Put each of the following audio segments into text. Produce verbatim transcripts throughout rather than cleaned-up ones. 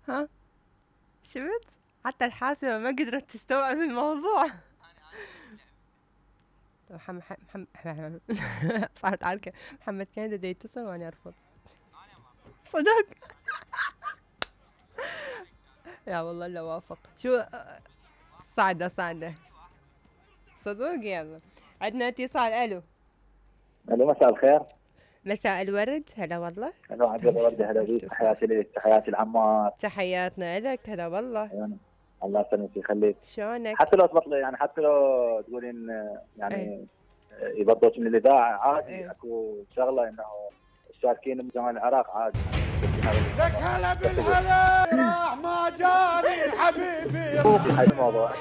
ها شفت؟ حتى الحاسبة ما قدرت تستوعب الموضوع. محمد محمد صارت عركة. محمد كان دا يتصل وانا ارفض. صدق. لا والله الا وافق. شو صعدة صعدة صدق. يلا عندنا اتصال. الو. الو مساء الخير. مساء الورد. هلا والله. هلا عبد الورد. هلا بيك. تحياتي لك. تحياتي العمار. تحياتنا لك. هلا والله. يعني الله يسلمك ويخليك. شلونك؟ حتى لو تبطلي يعني حتى لو تقولين يعني ايه. يبطلوك من الاذاعه عادي. ايه. اكو شغله انه الشاركين من جمال العراق عادي. لك هلا بالهلا راح ما جاني حبيبي. هاي الموضوع.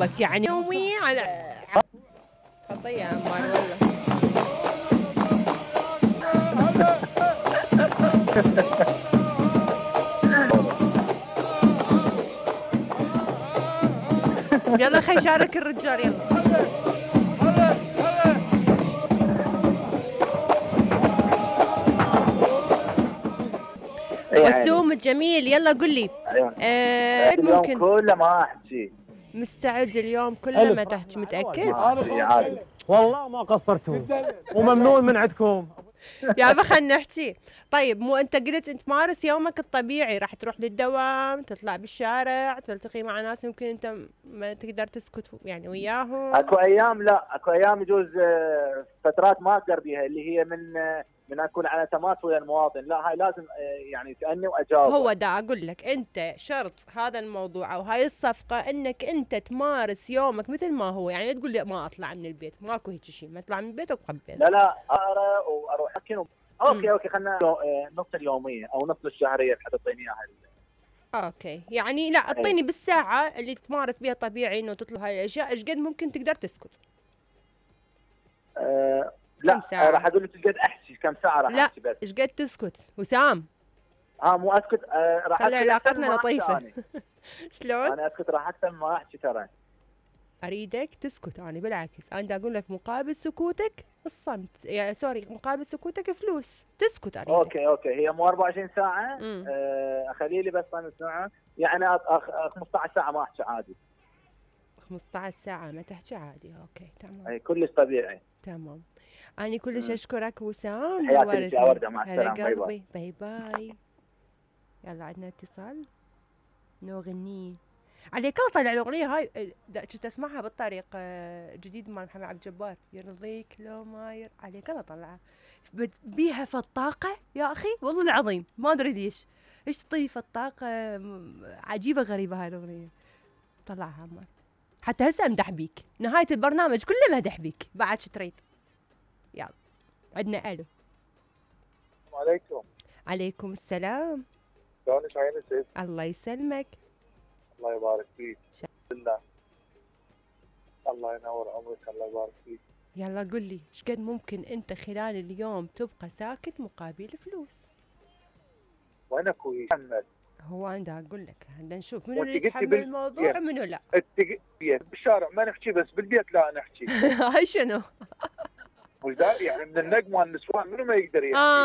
بك يعني يومي على خطيه يا عمار والله. يلا خي شارك الرجال. يلا وسوم الجميل. يلا قل لي. ايوه. آه اليوم ممكن كله ما احكي. مستعد اليوم كله ما تحكي؟ متاكد؟ عادي. والله ما قصرتوا وممنون من عندكم. يا ابا خلينا نحكي. طيب مو انت قلت انت تمارس يومك الطبيعي، راح تروح للدوام، تطلع بالشارع، تلتقي مع ناس يمكن انت ما تقدر تسكت يعني وياهم. اكو ايام لا، اكو ايام يجوز فترات ما اقدر بيها اللي هي من من اكون على تماس ويا المواطن، لا هاي لازم يعني تأني واجاوب. هو دا اقول لك انت شرط هذا الموضوع او هاي الصفقه انك انت تمارس يومك مثل ما هو، يعني لا تقول لي ما اطلع من البيت، ماكو هيك شيء، ما اطلع من البيت وقبل. لا لا اقرا واروح اكن و... اوكي اوكي خلينا نص اليوميه او نص الشهريه حتى تعطيني اياها. اوكي يعني لا اعطيني بالساعه اللي تمارس بها طبيعي انه تطلب هاي الاشياء، ايش قد ممكن تقدر تسكت؟ أه لا راح اقول لك ايش قد احكي، كم ساعه راح احكي بس. لا ايش قد تسكت وسام؟ اه مو اسكت. آه راح خلي علاقتنا لطيفه. شلون؟ انا اسكت راح اكثر ما احكي ترى. اريدك تسكت، انا بالعكس انا دا اقول لك مقابل سكوتك الصمت، يعني سوري مقابل سكوتك فلوس، تسكت اريدك. اوكي اوكي هي مو أربعة وعشرين ساعه. آه اخلي لي بس خمس ساعات يعني خمسة عشر ساعه ما احكي عادي. خمسة عشر ساعه ما تحكي عادي. اوكي تمام. اي كلش طبيعي. تمام. أنا كلش أشكرك وسام. حياتي لك يا وردة. مع السلامة. باي باي. باي باي. يلا عندنا اتصال. نغني عليك الله. طلع الأغنية هاي كنت أسمعها بالطريق جديد مال محمد عبد الجبار، يرضيك لو ما ير عليك الله طلعها بيها فالطاقة يا أخي والله العظيم ما أدري ليش إيش تطيب فالطاقة عجيبة غريبة هاي الأغنية. طلعها عمار حتى هسه امدح بيك، نهاية البرنامج كله مدح بيك بعد شو تريد. يلا عندنا الو. السلام عليكم. عليكم السلام. شلونك عيني؟ الله يسلمك. الله يبارك فيك. بالله. الله ينور عمرك. الله يبارك فيك. يلا قل لي ايش قد ممكن انت خلال اليوم تبقى ساكت مقابل فلوس؟ وين اخوي محمد؟ هو انا اقول لك بدنا نشوف منو اللي يتحمل الموضوع ومنو لا. بالشارع ما نحكي بس بالبيت لا نحكي. هاي شنو؟ وش يعني من النجم والنسوان منو ما يقدر يحكي. آه